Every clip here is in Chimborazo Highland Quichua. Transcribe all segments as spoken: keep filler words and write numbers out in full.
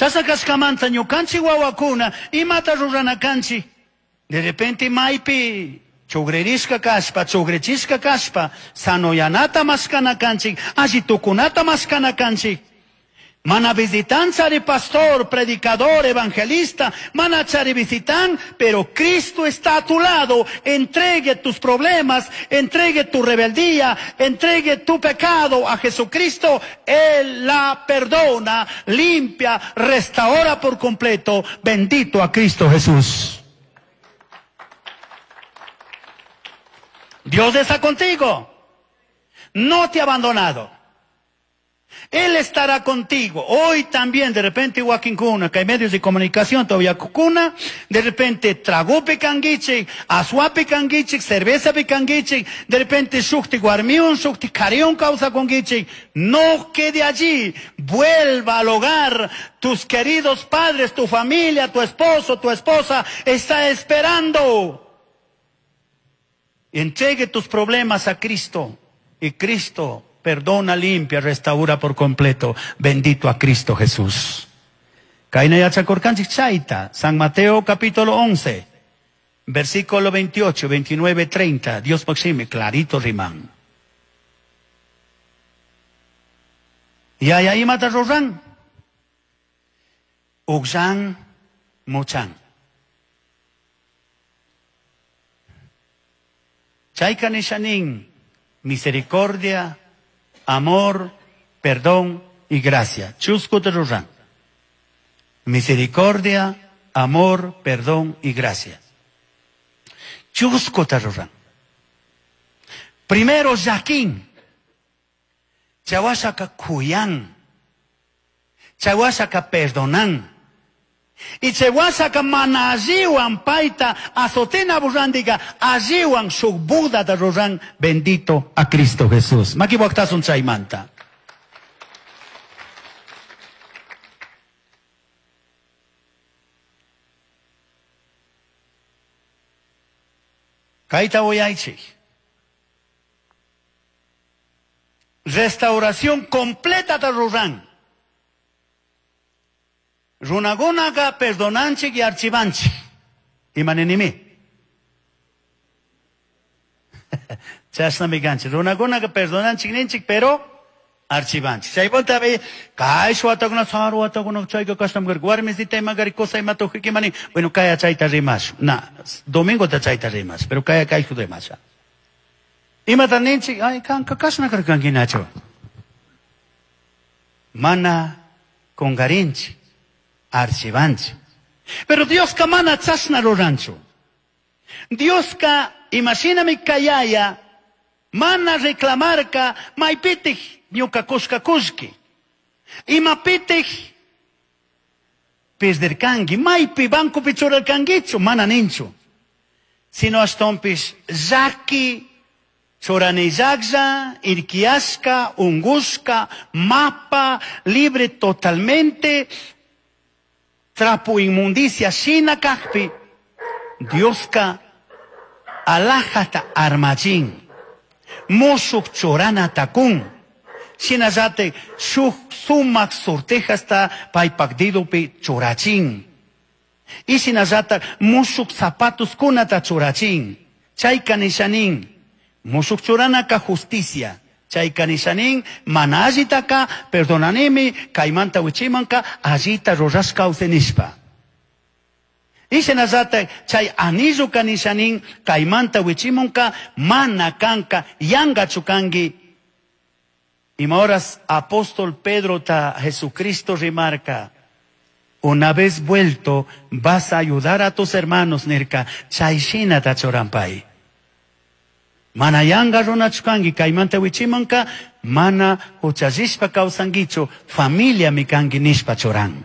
Chasna kashkamanta ñukanchik wawakuna imata rurana kanchik. De repente maypi chugririshka kashpa, chugrichishka kashpa, sanoyanata mashkana kanchik, alli tukunata mashkana kanchik. Mana visitan chari pastor, predicador, evangelista, mana chari visitan, pero Cristo está a tu lado. Entregue tus problemas, entregue tu rebeldía, entregue tu pecado a Jesucristo. Él la perdona, limpia, restaura por completo. Bendito a Cristo Jesús. Dios está contigo. No te ha abandonado. Él estará contigo. Hoy también, de repente, wakinkuna, que hay medios de comunicación todavía kukuna, de repente, tragope kanguichik, azuape kanguichik, cerveza kanguichik, de repente, shukti guarmiun, shukti kariun causa conguichik. No quede allí. Vuelva al hogar. Tus queridos padres, tu familia, tu esposo, tu esposa, está esperando. Entregue tus problemas a Cristo y Cristo perdona, limpia, restaura por completo. Bendito a Cristo Jesús. Kayna yachakurkanchik chayta, San Mateo capítulo once, versículo veintiocho, veintinueve, treinta. Dios maxime, clarito riman. Y ahí mata ruran. Uxan, muchan. Chayka nishanin, misericordia, amor, perdón y gracia. Chusco de ruran. Misericordia, amor, perdón y gracia. Chusco de ruran. Primero, Jaquín. Chawashaka kuyan. Chawashaka perdonan. Y chawashaka mana alliwan paita azotena burrandiga alliwan shuk Buda de ruran. Bendito a Cristo Jesús. Maki waktasun chaymanta. Kayta uyaychik. Restauración completa de ruran. Runagunaga perdonanchik y archivanchik. Imanenimi. Chashnami kanchik. Runagunaga perdonanchik ninchik, pero archivanchik. Chaypuntapi kay watakuna saru watakuna chayka kashnam karka. Warmisita ima kari cosa ima tukuy mani. Bueno, kaya chayta rimash. Na, domingo ta chayta rimash, pero kaya kay rimasha. Imata ninchik, ay kanka kashna karkankinachu. Mana kungarinchik. Archivanchi. Pero Dios ka mana chasna ruranchu. Dios ka imashinami kayaya mana reclamarka maypitij ñuka kushka kushki. Imapitij perderkanki, maypi bancopi churarkankichu, mana ninchu. Sino ashtonpish llaki churanillaklla, irkiashka, ungushka, mapa, libre totalmente, trapo inmundicia, shina kakpi, Dioska alajata armachin, mushuk churana takun, shinallate shuk sumak sortejasta paypak didupi churachin, y shinallata mushuk zapatos kunata churachin, chayka nishanin, mushuk churanaka justicia. Chayka nishanin, mana allitaka, perdonanimi, kaymanta wichimanka, allita rurashka usenishpa. Y shinallata, chay anillo kanishanin, kaymanta wichimonka, mana kanka, yanga chukangi. Ima horas apóstol Pedro ta Jesucristo remarca, una vez vuelto, vas a ayudar a tus hermanos, nirka, chay shina ta chorampay. Mana yanga runachukangi, kaymanta wichimanka, mana huchallishpa kawsankichu, familia mikanki nishpa churan.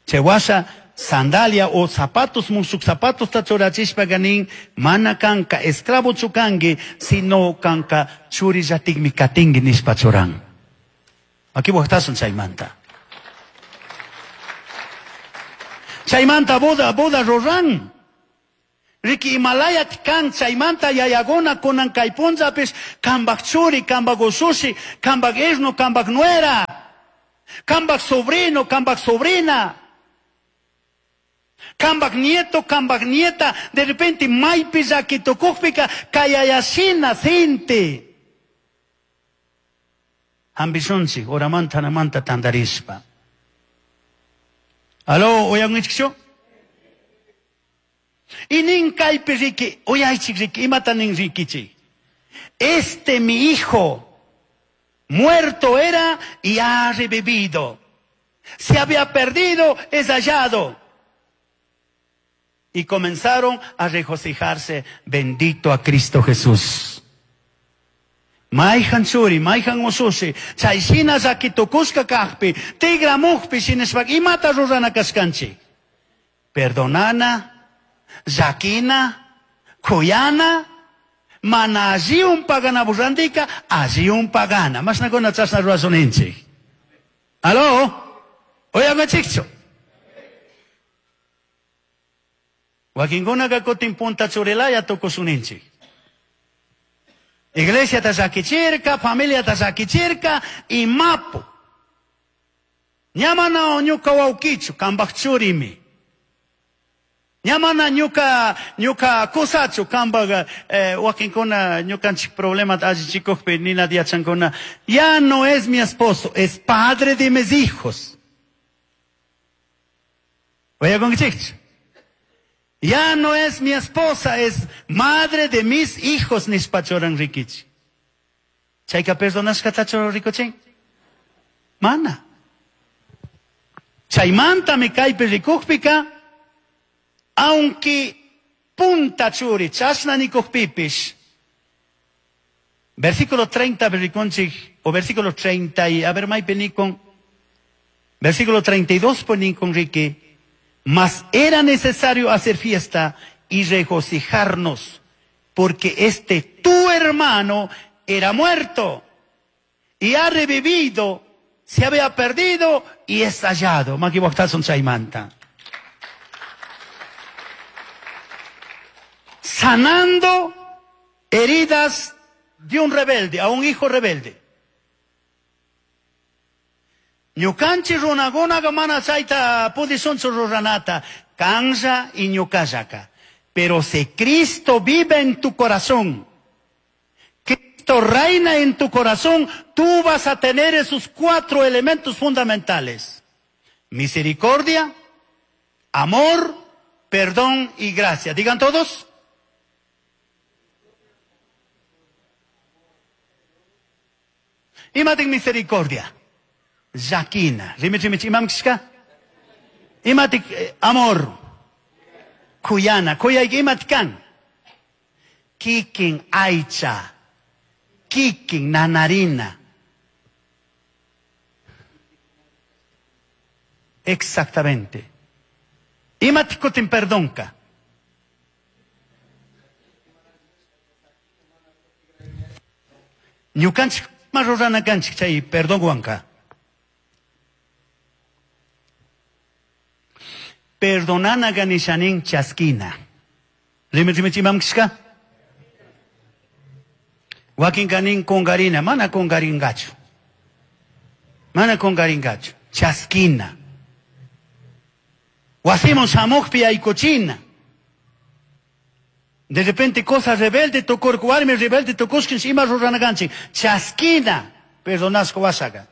Chewasha sandalia o zapatos, mushuk zapatos ta churachishpa ganin, mana kanka esclavo chukangi, sino kanka churillatikmi katingi nishpa churan. Aquí waqtasun chaymanta. Chaymanta boda, boda ruran. Riki Himalayat kan chaymanta yayaguna kunan kay punllapis kambak churi, kambak usushi, kambak isnu, kambak nuera. Cambaj sobrino, cambaj sobrina, cambaj nieto, cambaj nieta, de repente maipi llaki tukukpika kayayashina sinti. Ambishunchik, horamanta hanamanta tandarishpa. Aló, uyankichikchu? Y nin kaypi riki, uyaychik riki, imata nin rikichik. Este mi hijo, muerto era y ha revivido. Se había perdido, es hallado. Y comenzaron a regocijarse, bendito a Cristo Jesús. Mayhan churi, mayhan usushi, chayshina llaki tukushka kajpi, tigramujpi shinashpa imata rurana kashkanchik. Perdonana, llakina, kuyana, mana alliun pagana burrandika, alliun pagana. Mashnakuna chashna rurashuninchik. Aló, uyankichikchu. Wakinkunaka kutin punta churilaya tukushuninchik. Iglesia ta llakichirka, familia ta llakichirka, imapu. Ña mana ñuka wawkichu, kambaj churimi. Ña mana ñuka, ñuka kusachu, kambaj eh, wakinkuna ñukanchik problemata allichikukpi nina yachankuna. Ya no es mi esposo, es padre de mis hijos. Uyakunkichikchu. Ya no es mi esposa, es madre de mis hijos, nishpa churan rikichi. Chayka perdonashkatachu rikuchin? Mana. Chaymantami kaypi rikukpika, aunque punta churi, chashna nikukpipish. Versículo treinta rikunchik, o versículo treinta y, a ver, maypi nikun, versículo treinta y dos nikun riki. Mas era necesario hacer fiesta y regocijarnos, porque este tu hermano era muerto y ha revivido, se había perdido y es hallado. Makiwaktasun chaymanta. Sanando heridas de un rebelde, a un hijo rebelde. Ñukanchik runakunaqa mana chayta pudishunchu ruranata, kanlla y ñukallaka. Pero si Cristo vive en tu corazón, Cristo reina en tu corazón, tú vas a tener esos cuatro elementos fundamentales: misericordia, amor, perdón y gracia. Digan todos. Imatin misericordia. Llakina. Rimich imam kishka? Imatik amor. Kuyana. Kuyayki imat kan? Kikin aycha. Kikin nanarina. Exactamente. Imatik kutin perdonka. Ñukanchik ma rurana kanchik chay perdonwanka. Perdonanaganishanin chaskina. Rimi rimi chimam kishka? Wakin kanin kungarina, mana kungaringachu. Mana kungaringachu. Chaskina. Wasimon shamukpi aykuchina. De repente cosa rebelde tukurka, warmi rebelde tukushkin ima ruranakanchik. Chaskina. Perdonashka wasaka.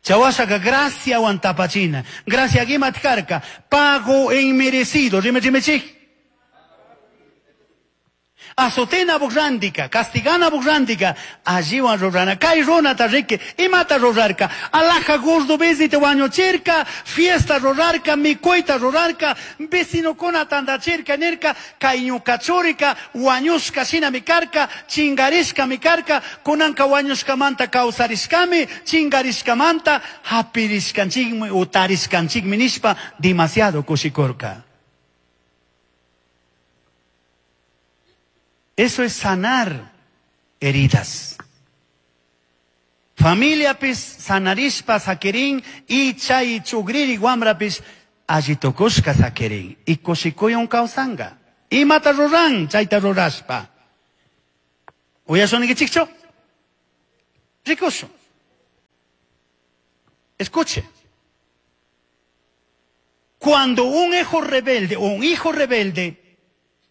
Chawasaka gracia wantapachina. Gracia gimat karka. Pago inmerecido. Rime rime chik. Azotena burrandika, castigana burrandika, alliwan rurana, kay runata riki, imata rurarka, alaja gordo bezite wañuchirka, fiesta rurarka, mikuyta rurarka, vecinokuna tandachirka, nirka, kay ñuka churika, wañushka shina mikarka, chingarishka mikarka, kunanka wañushkamanta kawsarishkami, chingarishkamanta hapirishkanchikmi, utarishkanchikmi nishpa, demasiado kushikurka. Eso es sanar heridas. Familia pis sanarishpa sakirin y chay chugriri guamrapis allitukushka sakirin. Y kushikuyun kawsanga. Imata ruran chayta rurashpa. Uyashunikichikchu? Rikushun. Escuche. Cuando un hijo rebelde o un hijo rebelde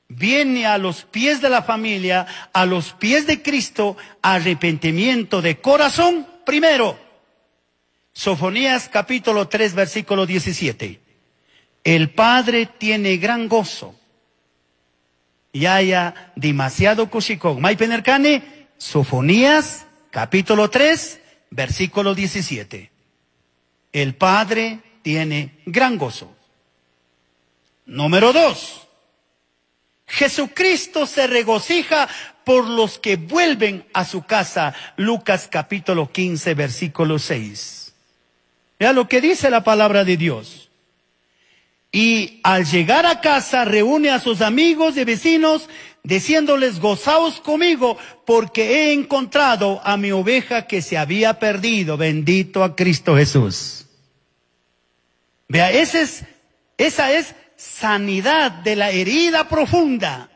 viene a los pies de la familia, a los pies de Cristo, arrepentimiento de corazón, primero. Sofonías capítulo tres, versículo diecisiete. El Padre tiene gran gozo. Y haya demasiado kushikón. Maipenerkane, Sofonías capítulo tres, versículo diecisiete. El Padre tiene gran gozo. Número dos. Jesucristo se regocija por los que vuelven a su casa. Lucas capítulo quince, versículo seis. Vea lo que dice la palabra de Dios. Y al llegar a casa reúne a sus amigos y vecinos, diciéndoles: gozaos conmigo, porque he encontrado a mi oveja que se había perdido. Bendito a Cristo Jesús. Vea, ese es, esa es sanidad de la herida profunda.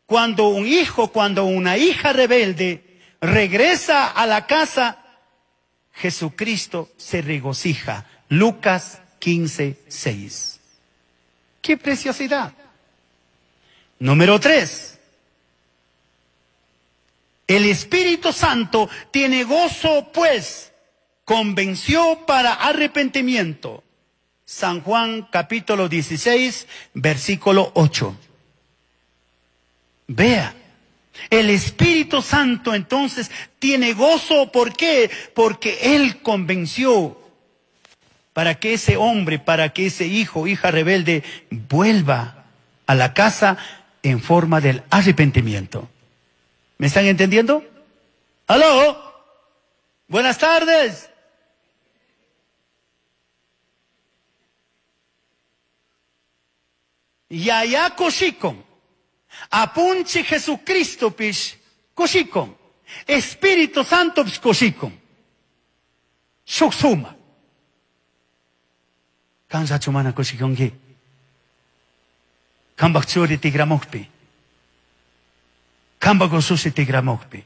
Cuando un hijo, cuando una hija rebelde regresa a la casa, Jesucristo se regocija. Lucas quince, seis. ¡Qué preciosidad! Número tres. El Espíritu Santo tiene gozo, pues, convenció para arrepentimiento. San Juan capítulo dieciséis, versículo ocho. Vea, el Espíritu Santo entonces tiene gozo. ¿Por qué? Porque Él convenció para que ese hombre, para que ese hijo, hija rebelde, vuelva a la casa en forma del arrepentimiento. ¿Me están entendiendo? ¡Aló! Buenas tardes. Yaya kushikon. Apunche Jesucristo pish kushikon. Espíritu Santo pish kushikon. Shuksuma. Kansa chumana kushikonki. Kambak churi tigramokpi. Kambak ususi tigramokpi.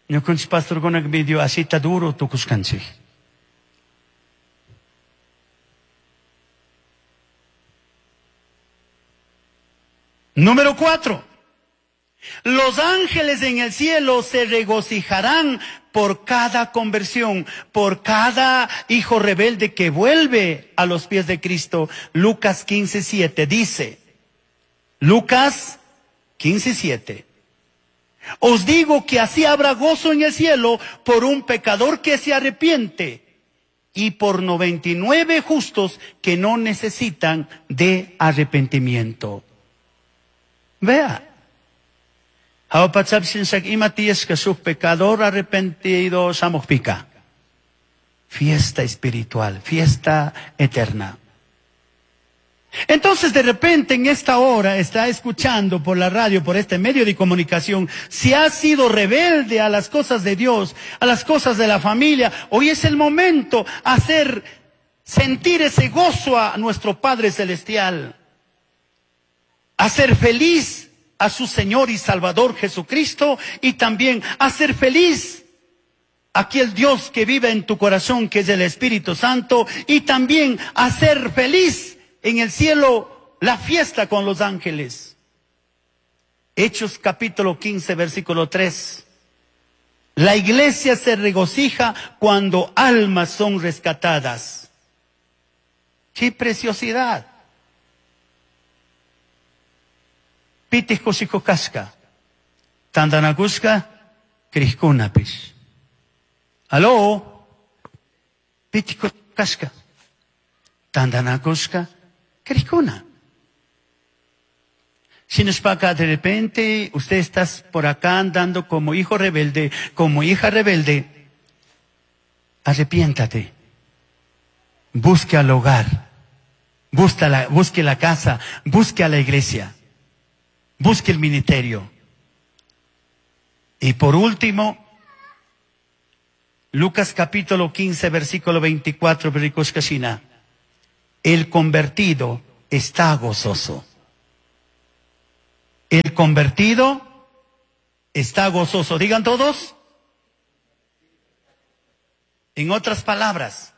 Ñukunchik pastorkunak medio asita duro tukushkanchik. Número cuatro. Los ángeles en el cielo se regocijarán por cada conversión, por cada hijo rebelde que vuelve a los pies de Cristo. Lucas quince, siete dice, Lucas quince, siete. Os digo que así habrá gozo en el cielo por un pecador que se arrepiente y por noventa y nueve justos que no necesitan de arrepentimiento. Vea. Pecador arrepentido shamuqpica. Fiesta espiritual, fiesta eterna. Entonces de repente en esta hora está escuchando por la radio, por este medio de comunicación, si ha sido rebelde a las cosas de Dios, a las cosas de la familia, hoy es el momento hacer sentir ese gozo a nuestro Padre Celestial, hacer feliz a su Señor y Salvador Jesucristo y también hacer feliz aquel Dios que vive en tu corazón, que es el Espíritu Santo, y también hacer feliz en el cielo la fiesta con los ángeles. Hechos capítulo quince, versículo tres. La iglesia se regocija cuando almas son rescatadas. ¡Qué preciosidad! Pitih kushikukashka, tantanakushka, krishkunapish. Aló, pitih kushikukashka, tantanakushka, krishkuna. Shinashpaka, de repente usted está por acá andando como hijo rebelde, como hija rebelde, arrepiéntate, busque al hogar, busque la, busque la casa, busque a la iglesia. Busque el ministerio. Y por último, Lucas capítulo quince, versículo veinticuatro, versículo. El convertido está gozoso. El convertido Está gozoso. Digan todos. En otras palabras,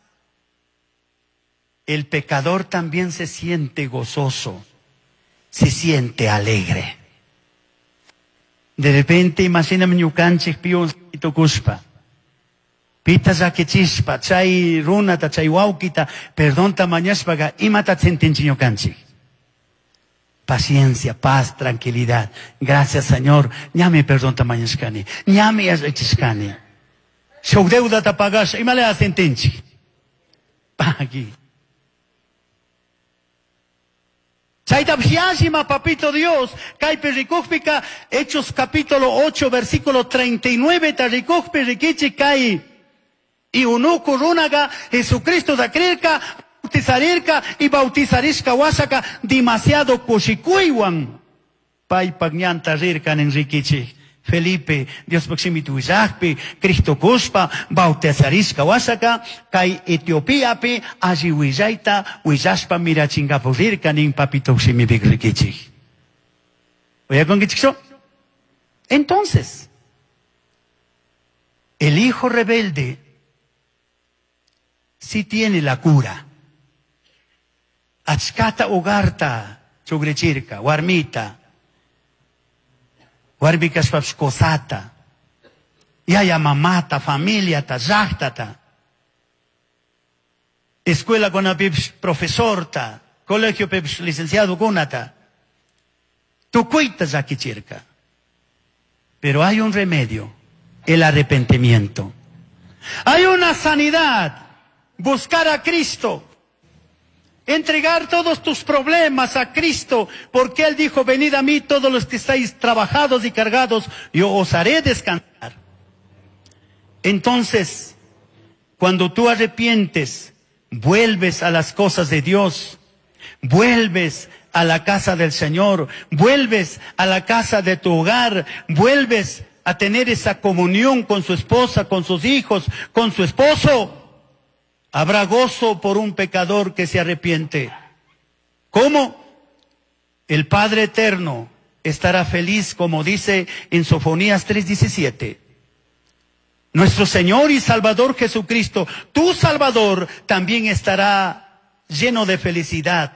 el pecador también se siente gozoso, se siente alegre. De repente, imagíname ñukanchik piun tukushpa, pita llakichishpa, chay runata, chay wawkita, perdonta mañashpaga, imata sentinchik ñukanchik. Paciencia, paz, tranquilidad. Gracias, Señor. Ñami perdonta mañashkani, ñami allichishkani. Shuk deudata pagasha, imala sentinchik. Pagui. Chayta yallima, papito Dios, kaypi rikukpika, Hechos capítulo ocho, versículo treinta y nueve, ta rikukpi rikichi kay. Y unuku runaga, Jesucristo da creerka, bautizarirka y bautizarishka wasaka, demasiado kushikuywan. Paypak ñanta rirkan en rikichi. Felipe, Dios proximito willakpi, Cristo kushpa, bautizarishka wasaka, kay Etiopiapi, alli willayta, willashpa mirachingapu rirka nin papito shimipik rikichik. ¿Oyakunkichikchu? Entonces, el hijo rebelde sí tiene la cura. Achkata hogarta, chugrechirka, warmita, warmi kashpapish kosata, yaya mamata, familiata, llaqtata, escuela kunapipish profesorta, colegiopipish licenciado kunata, tukuyta llakichirka. Pero hay un remedio, el arrepentimiento. Hay una sanidad, buscar a Cristo. Entregar todos tus problemas a Cristo, porque Él dijo, venid a mí todos los que estáis trabajados y cargados, yo os haré descansar. Entonces, cuando tú arrepientes, vuelves a las cosas de Dios, vuelves a la casa del Señor, vuelves a la casa de tu hogar, vuelves a tener esa comunión con su esposa, con sus hijos, con su esposo. Habrá gozo por un pecador que se arrepiente. ¿Cómo? El Padre Eterno estará feliz, como dice en Sofonías tres diecisiete. Nuestro Señor y Salvador Jesucristo, tu Salvador, también estará lleno de felicidad,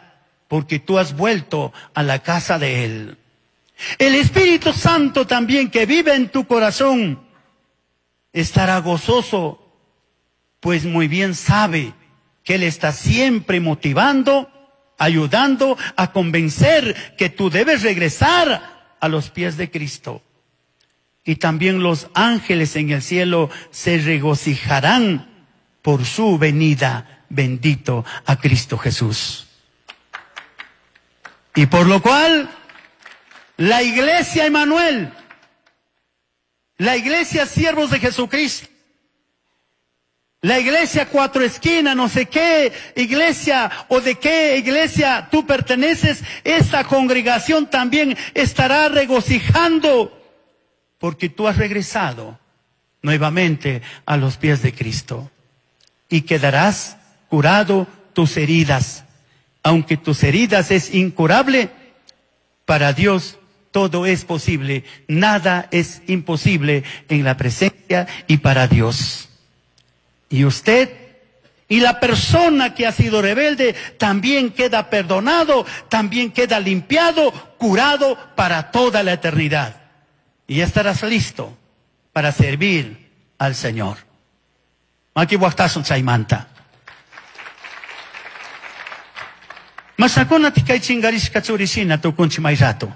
porque tú has vuelto a la casa de Él. El Espíritu Santo también, que vive en tu corazón, estará gozoso, pues muy bien sabe que Él está siempre motivando, ayudando a convencer que tú debes regresar a los pies de Cristo. Y también los ángeles en el cielo se regocijarán por su venida, bendito a Cristo Jesús. Y por lo cual, la iglesia Emanuel, la iglesia siervos de Jesucristo, la iglesia cuatro esquinas, no sé qué iglesia o de qué iglesia tú perteneces, esa congregación también estará regocijando porque tú has regresado nuevamente a los pies de Cristo y quedarás curado tus heridas. Aunque tus heridas es incurable, para Dios todo es posible, nada es imposible en la presencia y para Dios. Y usted y la persona que ha sido rebelde también queda perdonado, también queda limpiado, curado para toda la eternidad. Y ya estarás listo para servir al Señor. Maki waqtasun chaymanta. Masakuna tikay chingarishka churishina tukunchi may rato.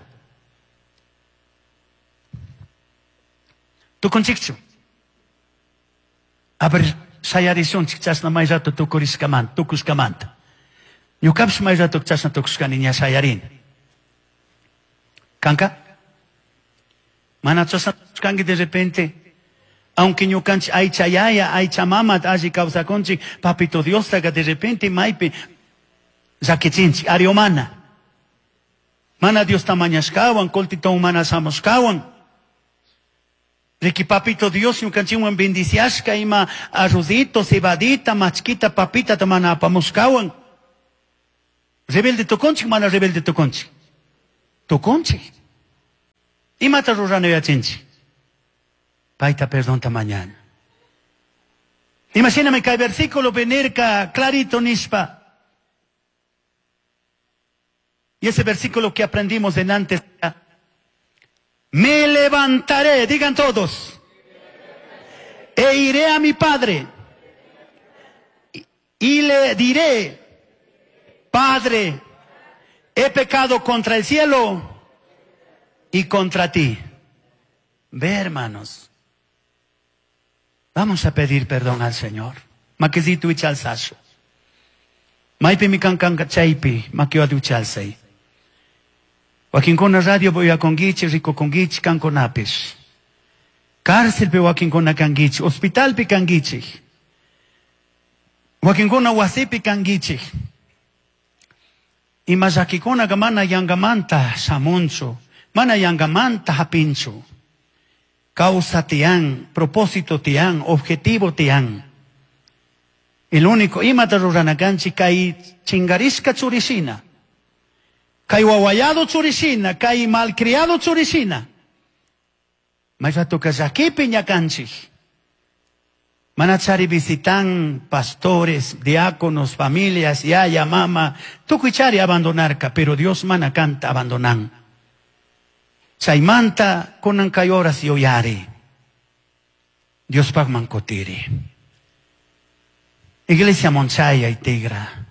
Tukunchikchu. A ver, shayarishunchik chashna may rato tukurishkamanta, tukushkamanta. Ñukapish may rato chashna tukushkani ña shayarini. Kanka? Mana chashna tukushkanki de repente, aunque ñukanchik aycha yaya, aycha mama alli kawsakunchik, papito Diostaqa de repente maypi llakichinchik, ari mana. Mana Diosta mañashkawan, qultitawan mana shamushkawan. Riki papito Dios ñukanchikwan bendiciashka ima arrozito, cebadita, machquita, papita mana apamushkawan. Rebelde tukunchik, mana rebelde tukunchik. Tukunchik. Imata rurana yachinchik. Paita perdonta mañana. Imagíname que el versículo venirca clarito nishpa. Y ese versículo que aprendimos en antes. Me levantaré, digan todos. E iré a mi padre. Y, y le diré, Padre, he pecado contra el cielo y contra ti. Ve, hermanos. Vamos a pedir perdón al Señor. Makisitu ichalsashu. Maipi mi kankanka chaypi, makiwatu ichalsay. Wakinkuna radio uyakunkichik, rikukunkichik, kankunapish. Cárcelpi wakinkuna kankichik, hospitalpi kankichik. Wakinkuna wasipi kankichik. Ima llakikunaka mana yangamanta shamunchu, mana yangamanta hapinchu. Causa tiyan, propósito tiyan, objetivo tiyan. El único imata rurana kanchik kay chingarishka churishina, kay wawayado churishina, kay malcriado churishina. May ratoka llakipi ñakanchik. Manachari visitan pastores, diáconos, familias, yaya, mama, tukuy chari abandonarka, pero Dios mana kanta abandonan. Chaymanta kunan kay horas yuyari. Diospaqman kutiri. Iglesia monchaya y tigra.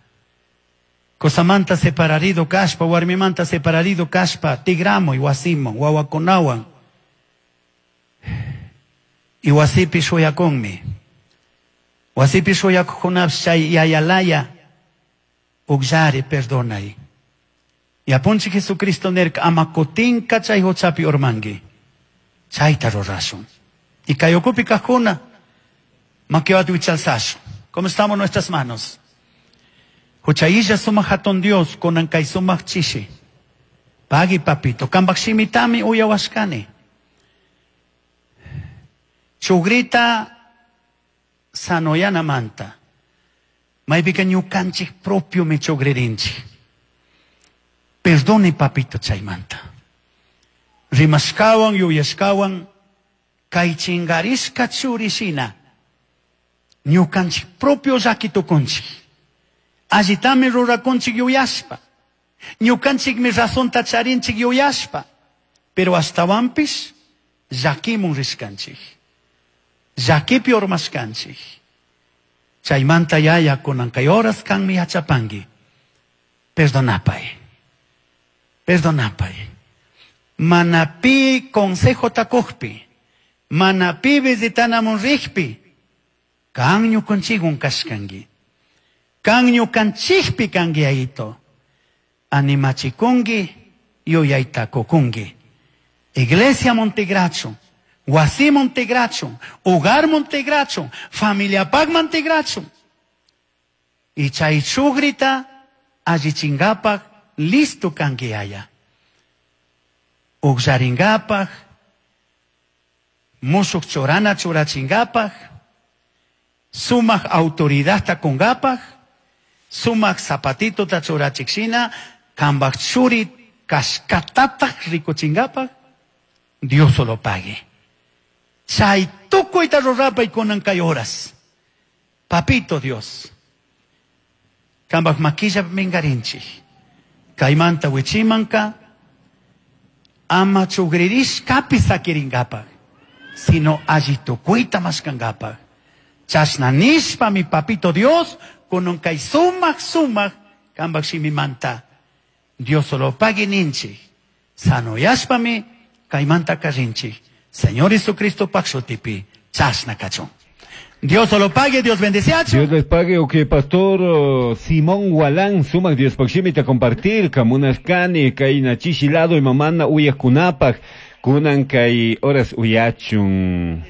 Qosamanta separarido kashpa, warmimanta separarido kashpa, tigramuy wasiman, wawakunawan. Y wasipi shuyakunmi. Wasipi shuyakuqkunapish chay yayalaya ukllari perdonay. Y apunchik Jesucristo nirka ama kutinka chay huchapi urmanki. Chayta rurashun. Y kay ukupi kajkuna makiwata wichalsashun. ¿Cómo estamos nuestras manos? Huchayilla sumaq hatun Dios kunan kay sumaq chishi. Pagui papito, kambaq shimitami uyawashkani. Chugrita sanoyanamanta. Maypika ñukanchik propio mi chugririnchik. Perdone papito chaymanta. Rimashkawan yuyashkawan kay chingarishka churishina. Ñukanchik propio llaki tukunchik. Allitami rurakunchik yuyashpa. Ñukanchikmi razonta charinchik yuyashpa. Pero ashtawanpish llakimun rishkanchik. Llakipi urmashkanchik. Chaymanta yaya kunan kay horas kanmi yachapanki. Perdonapay. Perdonapay. Mana pi consejo takujpi. Mana pi visitanamun rijpi. Kan ñukanchikwan kashkanki. Kan ñukanchikpi kanki ayito. Animachikunki, yuyayta kukunki. Iglesia Montegracho, wasi Montegracho, hogar Montegracho, familia pag Montegracho. Y chay chugrita allichingapak listo kanki aya. Ukllaringapak, mushuk churana churachingapak, sumaq autoridadta kungapak, sumaq zapatito ta churachikshina, kambaq churi kashkatataq rikuchingapak, Dios solo pague. Chay tukuyta rurapay kunan kay horas. Papito Dios. Kambaq makilla mingarinchik. Kaymanta wichimanka, ama chugririshkapi sakiringapak, sino alli tukuyta mashkangapak. Chashna nishpa mi papito Dios, kunan kay sumaq sumaq kambaq shimimanta. Dios solo pague ninchik. Sanoyashpami kaymanta karrinchik. Señor Jesucristo paq shutipi chashna kachun. Dios solo pague, Dios bendeciacho. Dios les pague, ok, pastor oh, Simón Gualán, sumaq Dios paqshimita compartir, kamunashkani, kayna chishi lado y mamana uyajkunapaq, kunan kay horas uyachun.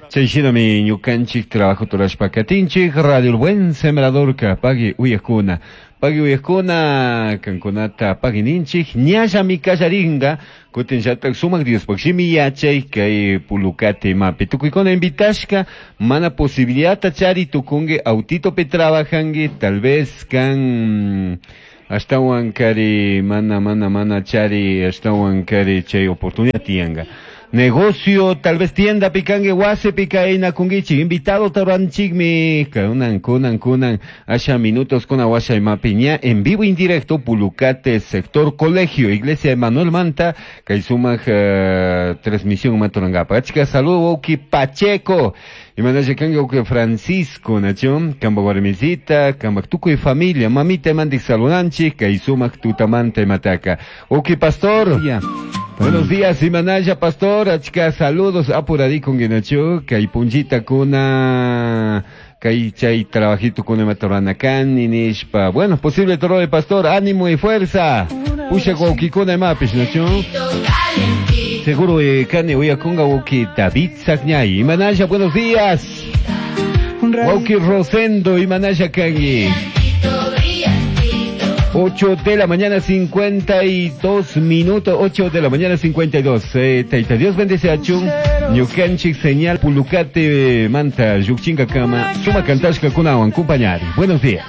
Chay shinami ñukanchik trabajo turashpa katinchik, Radio El Buen Sembrador ka pagui uyajkuna. Pagui uyajkuna, kankunata pagui ninchik, ñallami kallaringa, kutin llatak sumak Dios paqshimi yachay kay pulukate mapi. Tukuykuna invitashka, mana posibilidad chari tukungi autitopi trabajangi, tal vez kan ashtawan kari mana mana mana chari ashtawan kari chay oportunidad tiyanga. Negocio, tal vez tienda pikangi, wasi pikaina kungichi, invitado taranchigmi, kunan, kunan, kunan, asha minutos kuna washa imapiña, en vivo indirecto, Pulucate, sector colegio, iglesia Emanuel Manta, kay sumaq uh, transmisión maturangapa. Achka saludo, Oki Pacheco, imanalla kangi wawki Francisco, nacho, kamba warmisita, kamba tukuy familia, mamita imandik salunanchik, kay sumaq tutamanta imataka. Wawki Pastor. Yeah. Buenos días, Imanaya Pastor, achka saludos apuradikun nacho, kay punllita kuna kay chay trabajito kuna matorana kan nishpa. Bueno, posible toro de pastor, ánimo y fuerza. Pusha wawkikuna imapish nacho. Seguro eh, kani uyakunga wawki David Sagñay. Imanaya, buenos días. Wawki Rosendo, Imanaya kangi. ocho de la mañana cincuenta y dos minutos, ocho de la mañana cincuenta y dos. Eh, taita Dios bendice a Chun, Ñukanchik señal Pulucate manta, Yuchinga kama, suma kantashka kunawan, compañari. Buenos días.